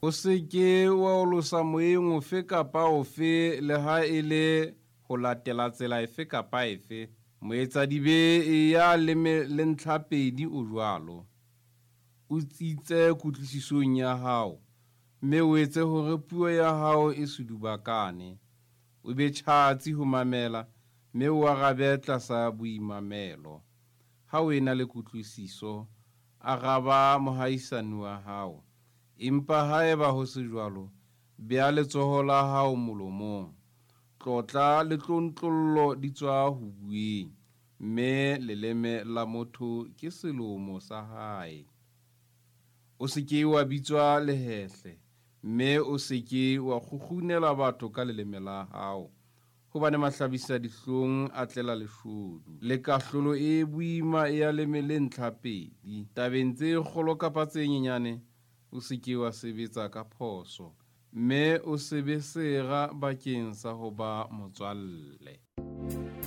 O se ke wa olosa moyeng ofe kapa ofe, leha e le ho latela tsela efe kapa efe. Moetsadibe ya leme le ntlhapedi o jwalo. O tsitse kutlwisisong ya hao, mme o etse hore puo ya hao e se dubakane. O be tjhatsi ho mamela, mme o arabe tlasa boimamelo. Ha o ena le kutlwisiso, araba mohaisane wa hao. Empa haeba ho se jwalo, bea letsoho la hao molomong. Tlotla le tlontlollo di tswa ho bueng, mme leleme la motho ke selomo sa hae. O se ke wa bitswa lehehle, mme o se ke wa kgukgunela batho ka leleme la hao, hobane mahlabisadihlong a tlela leshodu, le kahlolo e boima ya leme le ntlhapedi. Tabeng tse kgolo kapa tse nyenyane, o se ke wa sebetsa ka phoso, mme o se be sera bakeng sa ho ba motswalle.